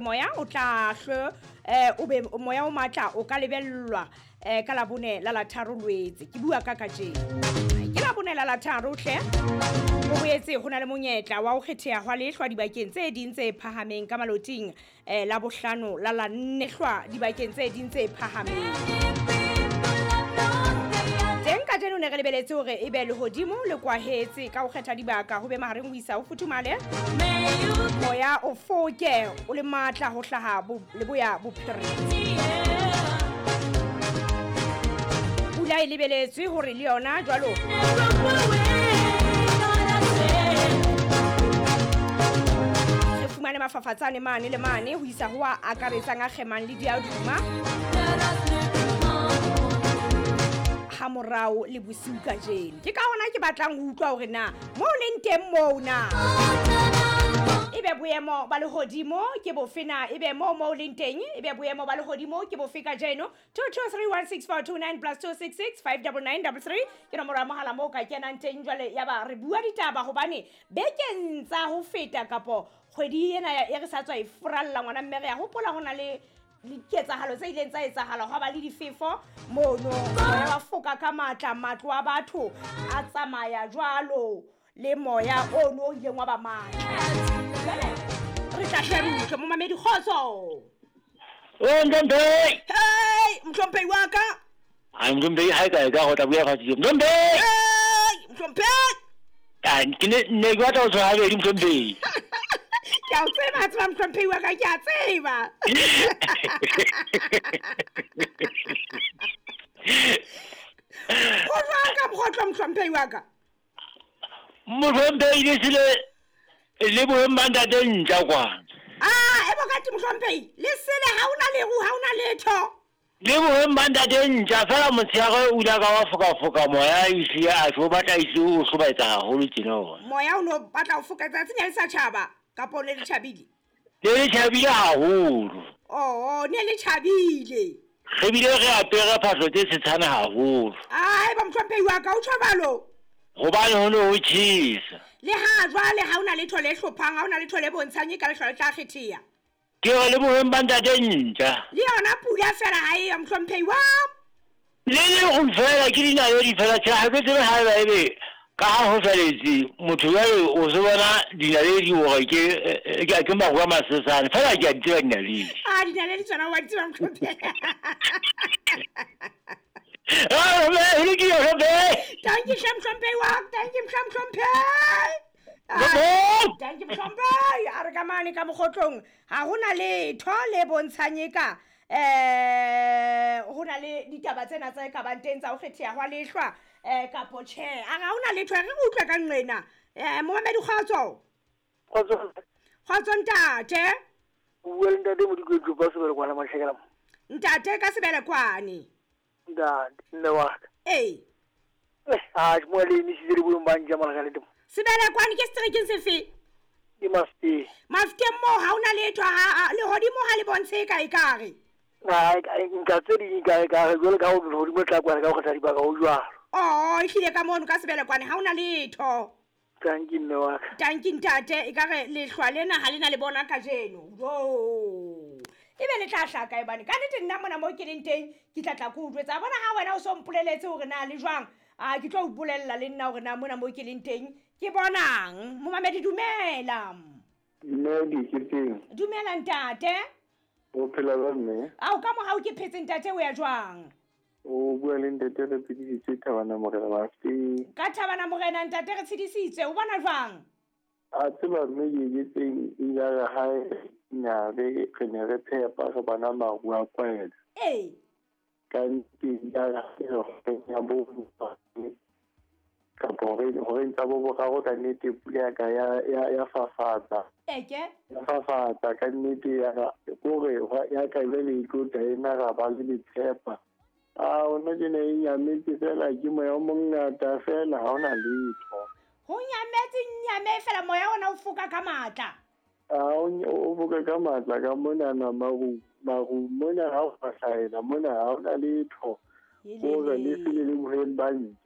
Moya o tla hlwe eh, o be moya o matla o ka lebellwa eh, ka labone la la tharo Lwetse. Ke bua ka kajeno. Ke labone la la tharo hle. Ho boetse ho na le monyetla wa ho kgetheha hwa lehlwa dibakeng tse ding tse phahameng ka maloting eh, la bohlano la la nne hlwa dibakeng tse ding tse phahameng. Teng kajeno ne re lebeletse hore e be lehodimo le kwahetse ka ho kgetha dibaka ho be mahareng ho isa ho futhumale. Moya o foke o le matla ho hlaha leboya bophirima. Pula e lebeletswe hore le yona jwalo re fumane mafafatsane mane le mane ho isa ho a akaretsang a kgemang le diaduma ha morao le bosiu kajeno. Ke ka hona ke batlang ho utlwa hore na mo leng teng moo na ebe boemo ba lehodimo ke bofe na, ebe moo mo leng teng ebe boemo ba lehodimo ke bofe kajeno. 2231642 plus 266 59933 ke nomoro ya mohala moo ka kenang teng. Jwale ya ba re bua ditaba hobane bekeng tsa ho feta kapo kgwedi ena e re sa tswa e furalla ngwana mme re ya hopola ho na le diketsahalo tse ileng tsa etsahala, hwa ba le difefo mono, moya wa foka ka matla, matlo a batho a tsamaya jwalo le moya ono o ileng wa ba matla. Jwale re tla hle re utlwe momamedi. Kgotso. O Mthomphei. Hey, Mthomphei wa ka. Ai Mthomphei, ha e ka go tla bua fatshe. Mthomphei. Hey, Mthomphei. Ah, ke ne ke batla ho tshwara habedi Mthomphei. Ke a o tseba, tseba Mthomphei wa ka, ke a tseba. Ho jwang ka mokgotlo Mthomphei wa ka? Mthomphei le sile le boheng ba ntate ntja kwana. Ah, e bokati Mthomphei, le sele ha ona leru, ha ona letho. Le boheng ba ntate ntja fela motshehare o ile ka wa foka moya ehlile a tlo batla ehlile o hlobaetsa haholo tjena ona. Moya o no batla ho foka tsatsi ne le sa tjhaba kapo ne le tjhabile? Ne le tjhabile haholo. Oh, ne le tjhabile. Re bile re apere phahlo tse setshana haholo. Ai ba Mthomphei wa ka o tjho jwalo. Hobane ho ne ho tjhesa. Le ha jwale ha ona letho le hlophang, ha ona letho le bontshang e ka lehlwa le tla kgetheha. Ke re le boheng ba ntate ntja. Le yona pula fela ha e yo Mthomphei wa. Le le fela ke dinaledi fela tjhe, ha ke tsebe haeba ebe ka ha ho saletse motho jwale o se bona dinaledi hore ke maru a masesane fela ke a di tseba dinaledi. Ah, dinaledi tsona wa di tseba Mthomphei. Ah, ho lokile Mthomphei. Dankie hle Mthomphei wa, dankie hle Mthomphei. Dankie Mthomphei. A re ka mane ka mokgotlong ha hona letho le bontshang e ka ho na le ditaba tsena tse ka bang teng tsa ho kgetheha hwa lehlwa kapo tjhe. A re ha hona letho, re utlwe ka nqena. Momamedi kgotso. Kgotso. Kgotso ntate. O bua le ntate Modiko ka Sebelekwane Mahlekela. Ntate ka Sebelekwane. Ntate, mme wa ka. Ee. Ah, mo le emisitse le boeng ba ntja malaka le temo. Sebelekwane ke seterekeng sefe? Ke Mafikeng. Mafikeng moo ha hona letho, ha lehodimo ha le bontshe ka ekare. Ai, nka tse ding ka ekare jwale ka ho lehodimo tla kwana ka ho kgetha dibaka ho jwalo. Oh, ehlile ka mono ka Sebelekwane ha hona letho. Tanki mme wa ka. Tanki ntate, ekare lehlwa lena ha lena le bona kajeno. Jo. Ebe le tla hlaka ebane. Ka nnete nna mona mo ke leng teng ke tla tla ke o jwetsa. Bona ha wena o so mpoleletse hore na le jwang. A ke tlo o bolella le nna hore na mona mo ke leng teng ke bonang. Momamedi dumela. Dumela ke teng. Dumela ntate. O phela jwang mme? Ao ka mohau ke phetse ntate, o ya jwang? O bua le ntate re tshedisitswe Thabana Morena Mafikeng. Ka Thabana Morena ntate re tshedisitswe, o bona jwang? A tseba mme ke teng ile re hae nya re ne re tshepa re bona maru a kwela. Ee. Ka nnete ya re ya bo kapo hore ntsa bo boraro ka nnete pula ka ya fafatsa. Eke? Ya fafatsa ka nnete ya kore ya ka le tlo ena ra ba le tshepa. Ah, ona ke ne e nyametse fela ke moya o mongata fela ha ona letho. Ho nyametse nyame fela moya ona o foka ka matla. Ah, o foka ka matla ka mona na maru mona ha o hlahela mona ha ona letho. Hore le sele le boheng ba ntja.